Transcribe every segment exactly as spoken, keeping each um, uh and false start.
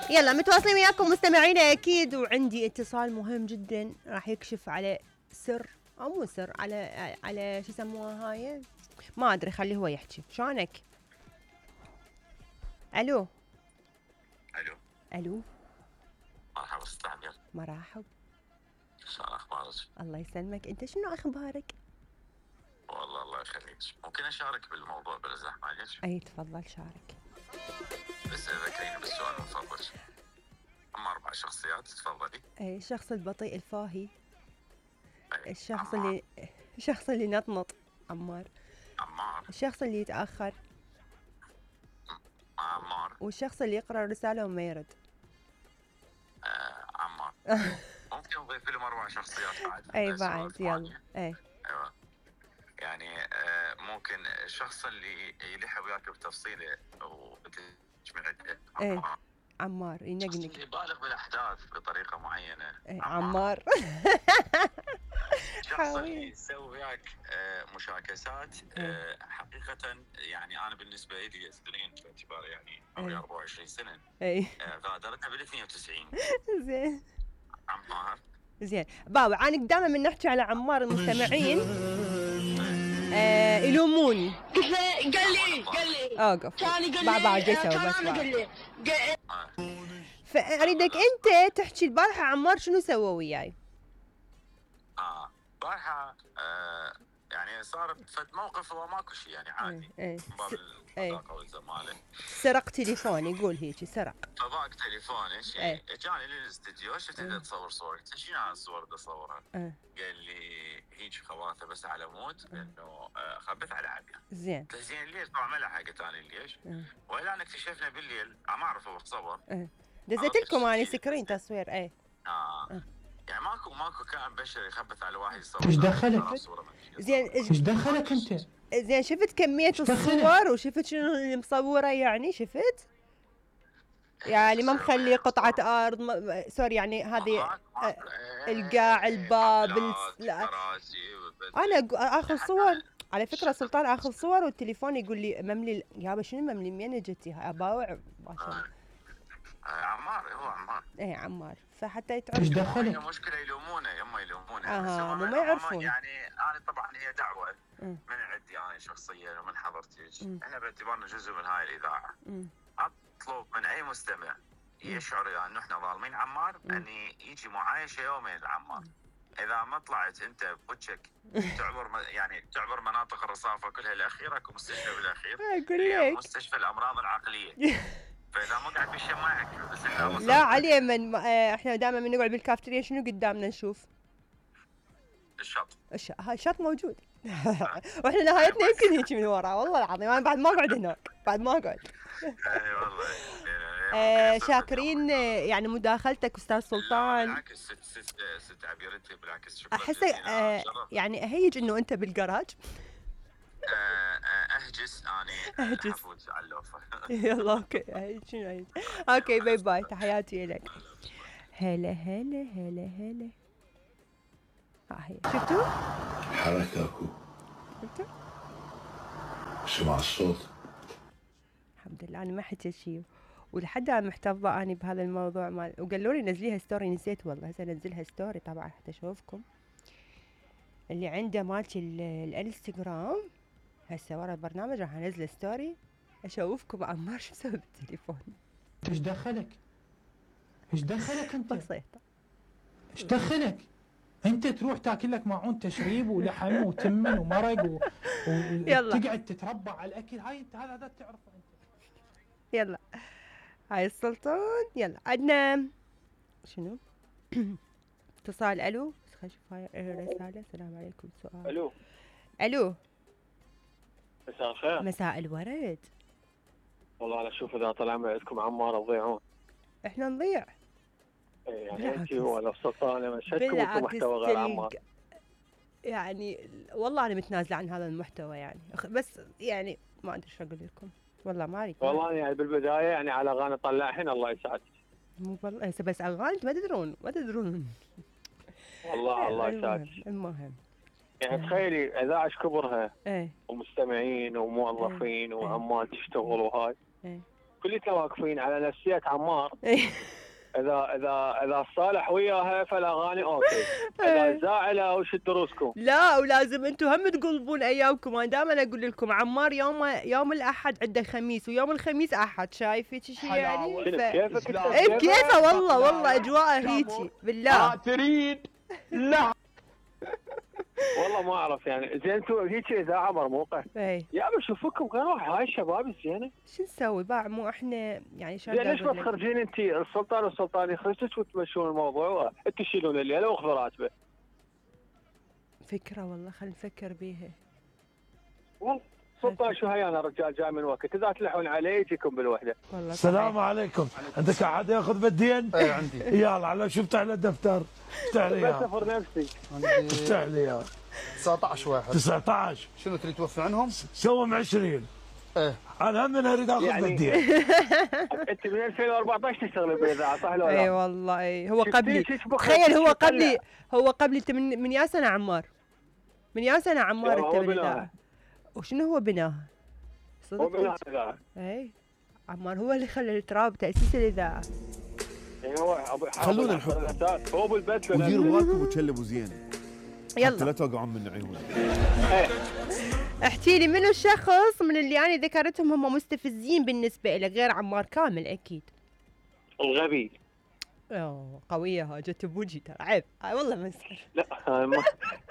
يلا متواصلين وياكم مستمعينا اكيد، وعندي اتصال مهم جدا راح يكشف على سر او مو سر، على على شو يسموها هاي، ما ادري، خليه هو يحكي. شلونك؟ الو الو الو مرحبا استاذ عبير. مرحب. شلون اخبارك؟ الله يسلمك، انت شنو اخبارك؟ والله الله يخليك. ممكن اشارك بالموضوع بلا زحمه عليك؟ اي تفضل شارك. بس ذكريني بالسؤال من فضلك. هم اربع شخصيات، تفضلي. اي الشخص البطيء الفاهي، أي. الشخص عمار. اللي الشخص اللي نطنط عمار، عمار. الشخص اللي يتاخر، عمار. والشخص اللي يقرا الرساله وما يرد. آه عمار. ممكن نضيف لهم اربع شخصيات بعد. اي بعد يلا. اي ايوه يعني آه ممكن الشخص اللي يلح وياك بتفصيله وتجمعته. اي عمار ينقنق، اللي يبالغ بالاحداث بطريقه معينه. اي عمار. الشخص اللي يسوي وياك مشاكسات آه حقيقه، يعني انا بالنسبه لي سنين باعتبار يعني عمري أربعة وعشرين سنه. اي غادرتها بال اثنين وتسعين. زين عمار. زين بابا، انا دائما من نحكي على عمار المستمعين آه يلوموني. قال لي قال لي اوقف كان يقول بعد بعد لي يسوي كان بس انا بعد. قال لي فاريدك انت تحكي البارحه عمار شنو سوى وياي. اه البارحه آه يعني صار فد موقف هو ماكو شيء يعني عادي. ايه من باب الصداقه والزماله. سرق تليفوني، قول هيجي سرق. فضاق تليفوني شيء. ايه. جاني للاستديو، شفت انت تصور صور، قلت شنو هاي الصور بدي اصورها؟ اه. قال لي هيك خواثه بس على مود انه آه خبث على عبيه. زين. قلت زين ليش؟ طبعا ما له حاجه ثانيه ليش؟ اه. والان اكتشفنا بالليل، ما اعرف هو صور. اه. دزيت لكم انا سكرين تصوير. ايه. اه, اه. يعني ماكو ماكو كائن بشري يخبث على واحد يصور. ايش دخلك؟ زين ايش دخلك انت؟ زين شفت كمية الصور وشفت شنو اللي مصوره، يعني شفت؟ يعني ما مخلي قطعة أرض م... سوري يعني هذه آه القاع الباب الس... لا. أنا آخذ صور على فكرة سلطان، آخذ صور والتليفون يقول لي مملي. يابا شنو مملي؟ منين جتي؟ أباوع ما شاء الله. عمار هو عمار. ايه عمار، فحتى يتعرف. ايش دخلك؟ مشكلة يلومونه، يما يلومونه. اه مو ما يعرفون. يعني انا طبعا هي دعوة م. من عندي انا شخصيا ومن حضرتك، احنا باعتبارنا جزء من هاي الاذاعة. م. اطلب من اي مستمع يشعر يعني انه احنا ظالمين عمار م. ان يجي معايشة يومين لعمار. اذا ما طلعت انت بوجهك تعبر يعني تعبر مناطق الرصافة كلها الاخيرة، اكو مستشفى بالاخير هي مستشفى الامراض العقلية. فاذا ما قاعد بالشماعك بس احنا لا علي من احنا دائما من نقعد بالكافتيريا شنو قدامنا نشوف؟ الشط. الش... هاي الشط موجود. واحنا نهايتنا يمكن هيك من ورا، والله العظيم انا بعد ما اقعد هناك، بعد ما اقعد. اي والله. آه شاكرين يعني مداخلتك استاذ سلطان. بالعكس ست ست ست عبير انت بالعكس شكرا. احس آه يعني اهيج انه انت بالجراج. اهجس اني اهجس على اللوفه. يلا اوكي اهيج شنو اهيج. اوكي باي باي، تحياتي لك. هلا هلا هلا هلا. ها هي شفتوا؟ حركة اكو. شفتوا؟ سمع الصوت. الحمد لله انا ما حكيت شيء، ولحد الان محتفظه اني بهذا الموضوع مال، وقالوا لي نزليها ستوري، نسيت والله. هسه انزلها ستوري طبعا حتى اشوفكم اللي عنده مالتي الانستغرام. هسه ورا البرنامج راح انزل ستوري اشوفكم عمار شو مسوي بالتليفون. ايش دخلك؟ ايش دخلك انت؟ بسيطه. ايش دخلك؟ انت تروح تاكل لك معون تشريب ولحم وتمن ومرق و... وتقعد تتربع على الاكل. هاي انت هذا هذا تعرفه انت. يلا هاي السلطان. يلا عندنا شنو؟ اتصال. الو بس خلينا نشوف هاي رساله. السلام عليكم. سؤال. الو الو مساء الخير. مساء الورد. والله انا اشوف اذا طلع معكم عمار تضيعون. احنا نضيع يعني انت ولا السلطان مشهدكم انتم محتوى غير عمار. يعني والله انا متنازله عن هذا المحتوى يعني، بس يعني ما ادري شو اقول لكم والله ما اريد. والله يعني بالبدايه يعني على اغاني طلعهن الله يسعدك. مو والله بس اغاني ما تدرون ما تدرون والله الله يسعدك. المهم يعني تخيلي اذاعه كبرها ايه ومستمعين وموظفين ايه وعمال تشتغل وهاي ايه كلنا واقفين على نفسيه عمار. اذا اذا اذا صالح وياها فالاغاني اوكي، اذا زاعله وش دروسكم؟ لا ولازم انتم هم تقلبون ايامكم. انا دائما اقول لكم عمار يوم يوم الاحد عنده خميس ويوم الخميس احد، شايف هيك شيء يعني؟ ف... كيفك؟ اي بكيفه والله والله اجواءه هيك بالله. تريد لا والله ما اعرف يعني. زين انتم هيك اذاعه مرموقه. اي يا ابي شوفكم كانوا هاي الشباب الزينه. شو نسوي باع مو احنا يعني شو ليش ما تخرجين انت السلطان والسلطان يخرجوك وتمشون الموضوع انت تشيلون الليله واخذوا راتبه؟ فكره والله خلينا نفكر بيها. والله سلطان شو هي انا رجال جاي من وقت اذا تلحون علي يجيكم بالوحده. السلام عليكم. عندك احد ياخذ بالدين؟ اي عندي. يلا على شو افتح له دفتر. افتح لي اياه. بسافر نفسي. افتح لي اياه. تسعطعش واحد. تسعطعش. شنو تريد توفي عنهم؟ سوهم عشرين. ايه انا هم اريد اخذ يعني بالدين. انت من ألفين وأربعطعش تشتغل بالاذاعه صح ولا لا؟ اي والله اي هو قبلي. شفتي تخيل هو شو قبلي هو قبلي انت من من يا سنه عمار؟ من يا سنه عمار هو انت بناها. بالاذاعه. وشنو هو بناها؟ هو صدق؟ بناها الاذاعه. اي عمار هو اللي خلى التراب تاسيس الاذاعه. اي هو أبو- خلونا حافظ نحط. على الأساس. هو بالبث ولا- وديروا بالكم وتشلبوا زين حتى يلا لا توقعون من عيونك. إيه. احكي لي منو الشخص من اللي انا ذكرتهم هم مستفزين بالنسبه لك غير عمار كامل اكيد. الغبي. اوه قويه ها جت بوجهي ترى عيب. آه والله مسخر. لا أنا ما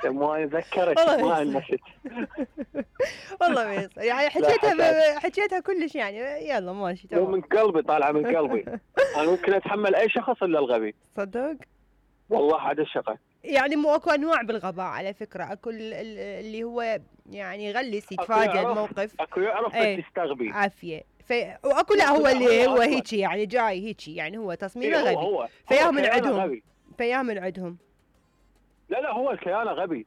ما ذكرت والله ما يسعدك. نسيت. والله مسخر يعني حكيتها ب... حكيتها كلش يعني يلا ماشي مو من تمام. قلبي طالعه من قلبي. انا ممكن اتحمل اي شخص الا الغبي. صدق؟ والله هذا الشغل. يعني مو اكو انواع بالغباء على فكره. اكو ال- ال- اللي هو يعني يغلس أكو يتفاجئ يعرف- الموقف اكو يعرف إيه. بس يستغبي. عافيه. في واكو لا هو اللي هو هيك يعني جاي هيك يعني هو تصميمه إيه هو غبي. هو فياه هو من كيانه عندهم. غبي. فياه من عندهم. لا لا هو الكيانه غبي.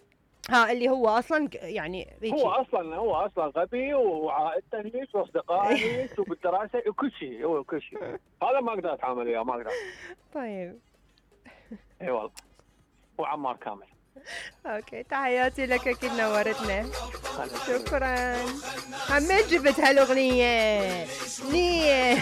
ها اللي هو اصلا ك- يعني هيك. هو اصلا هو اصلا غبي وعائلته هيك واصدقائه هيك وبالدراسه وكل شيء هو كل شيء. هذا ما اقدر اتعامل وياه ما اقدر. طيب اي والله. وعمار كامل. اوكي تحياتي لك اكيد نورتنا. شكرا. همين جبت هالاغنيه. نين